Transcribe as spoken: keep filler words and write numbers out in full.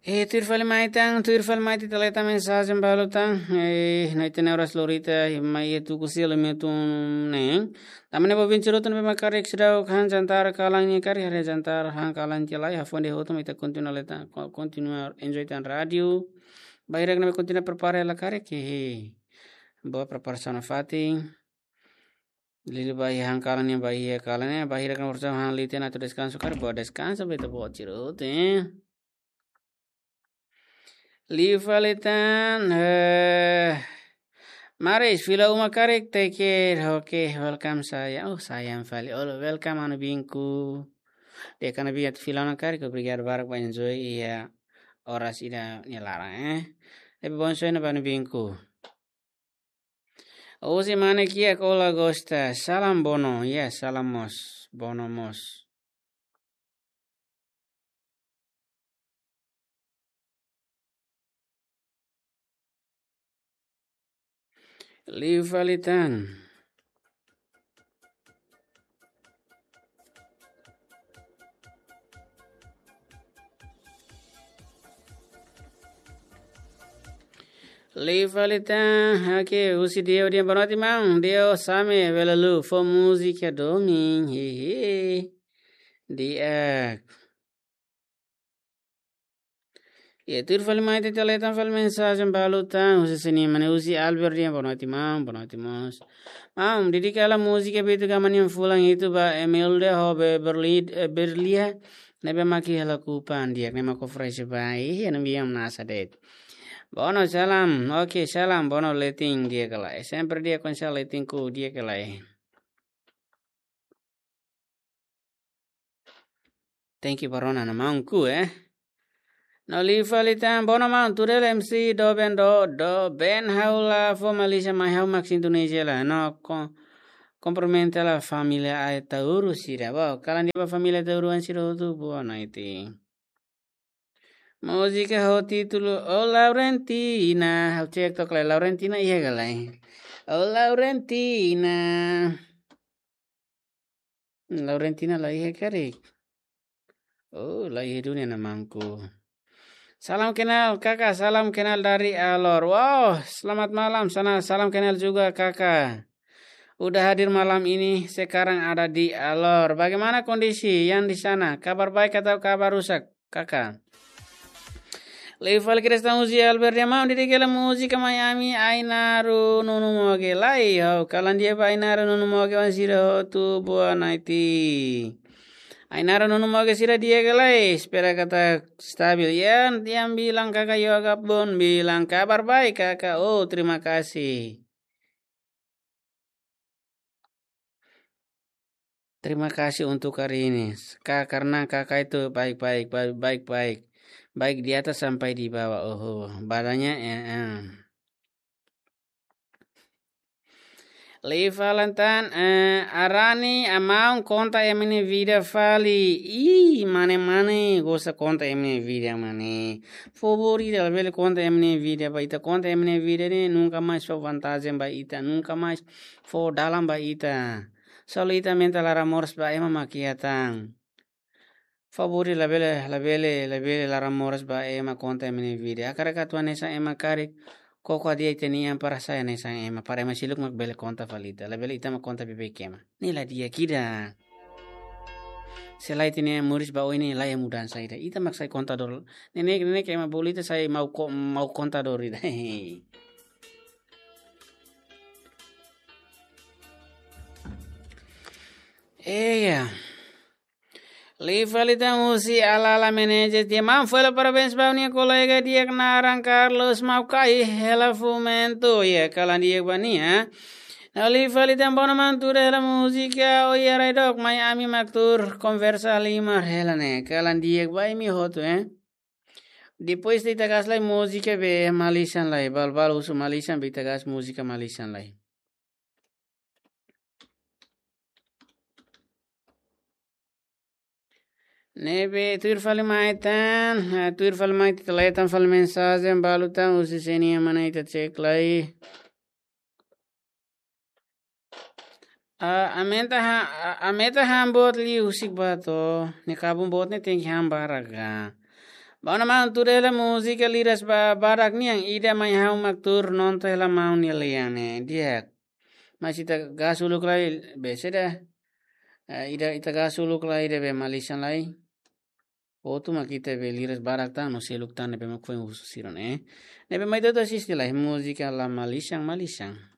Eh, tuir fali mai tan, tuir fali mai ita leta mensajen balu tan. Eh, no ita-nia oras lorita, mai iha tuku selo metun neen. Tanba ne'e ba ouvinte sira hotu ne'ebé mak karik seidauk han jantar kalan nia karik, haree jantar han kalan tiha lai, hafoin de'it hotu mai ita kontinua leta, ko-, kontinua enjoy tan rádiu. Bainhira ne'ebé kontinua prepara hela karik, hehe. Boa preparasaun nafatin. Liuliu ba iha han kalan nia, ba iha kalan nia, bainhira ne'ebé orsida han leten atu deskansa karik, boa deskansa, beta boa tiru, eh. Liu fali tan, eh, Maris, fila uma karik, take care. Oke, welcome sayang. Oh, sayang fali. Oh, welcome anu binku. Dehan anu binku atu fila uma karik, obrigadu barak ba enjoy iha oras ida-ne'e laran, eh. Ne'ebé bom sonho ba anu binku. Ozi mane kiak, olá gosta. Salam Bono. Ya, salam mós. Bono mós. Liu fali tan. Liu fali tan, oke, husi Deo dehan boa noite maun, Deo Same, bele liu, fó múzika domin, hehe. Di'ak. Ya, tuir fali mai ita leta fali mensajen balu tan, husi sini mane husi Albert dehan boa noite maun, boa noite mós. Maun, dedika hela múzika Beto Gama nian fulan hitu ba Emilda ho Be-, Berli-, eh, Berlia, ne'ebé mak iha Lakupan di'ak, ne'e mak oferese ba, ih, anu biam nasa de'it. Bono salam, oke, salam, Bono leten di'ak ka lae. Sempre di'ak konsa leten ku di'ak ka lae. Thank you, Barona, na maun ku, eh. No liu fali tan, bono maun, tuir hela M C doben do, doben ha'u la fó Malaysia mai ha'u mak Indonesia la. No ko-, kumprimenta hela família Ataúro sira. Wow, kalan di'ak ba família Ataúro an sira hotu, boa noite. Múzika ho títulu O Laurentina. Ha'u cek tok lai, Laurentina iha ka lae. O Laurentina. Laurentina la iha karik. Oh, la iha duni na maun ku. Salam kenal, Kakak. Salam kenal dari Alor. Wow, selamat malam sana. Salam kenal juga, Kakak. Udah hadir malam ini, sekarang ada di Alor. Bagaimana kondisi yang di sana? Kabar baik atau kabar rusak, Kakak? Liu fali Krista Muzi Albert dehan maun, dedika hela múzika mai ami Ainaro Nunu Moge lai. Ho, kalan di'ak ba Ainaro Nunu Moge oan sira hotu, boa noite. Ainaro Nunu Moge sira di'ak ka lae, espera katak stabil. Ya, yang bilang Kakak Yoga pun bilang kabar baik, Kakak. Oh, terima kasih. Terima kasih untuk hari ini. Ka-, karena Kakak itu baik-baik, ba-, baik-baik. Baik di atas sampai di bawah. Oh, badannya, eh, eh. Liu fali tan, eh, Arani, amaun konta ema nia vida fali. Ih, mane-mane, gosta konta ema nia vida, mane. Favór ida, labele konta ema nia vida ba ita, konta ema nia vida ne'e nunka mais fó vantajen ba ita, nunka mais fó dalan ba ita. Selalu ita aumenta laran moras ba ema mak iha tan. Favór ida, labele, labele, labele laran moras ba ema konta ema nia vida. Hakarak atu hanesan ema karik, koko hadi'a ita-nia an para sai hanesan ema, para ema seluk mak bele konta fali ita. Labele ita mak konta beibeik ema. Ne'e la di'ak ida. Se lae ita-nia an moris ba oin ne'e laiha mudansa ida. Ita mak sai kontadór. Ne'e, ne'e, ne'e ke ema bolu ita sai mau ko-, mau kontadór ida. Iya. Liu fali tan husi Alala Menezes dehan maun fó hela parabéns ba ha'u-nia kolega di'ak naran Carlos Maukai hela Fumento. Ya, kalan di'ak ba nia. No liu fali tan bono maun tuur hela múzika Oia Raidok mai ami mak tuur konversa lima hela ne'e. Kalan di'ak ba imi hotu, eh. Depois de ita kaer lai múzika be Malaysian lai. Bal-bal husu Malaysian be ita kaer múzika Malaysian lai. Ne'ebé tuir fali mai tan, ah, tuir fali mai tan, ita leten fali mensajen balu tan, husi sini mana ita cek lai. Ah, aumenta ha, ah, aumenta han boot liu husik ba to'o. Ne'e kabun boot ne'e tenke han barak ka. Ba ona maun, tuur hela múzika liras ba barak nian, ida mai ha'u mak tuur nonton hela maun nia lian ne'e. Di'ak. Mas ita gasu uluk lai be saida. Eh, ida ita gasu uluk lai ida be malisan lai. Hotu mak ita be liras barak tan no seluk tan ne'ebé mak foin husu sira ne'e. Ne'ebé mai ita atu asiste lai múzika La Malisan Malisan.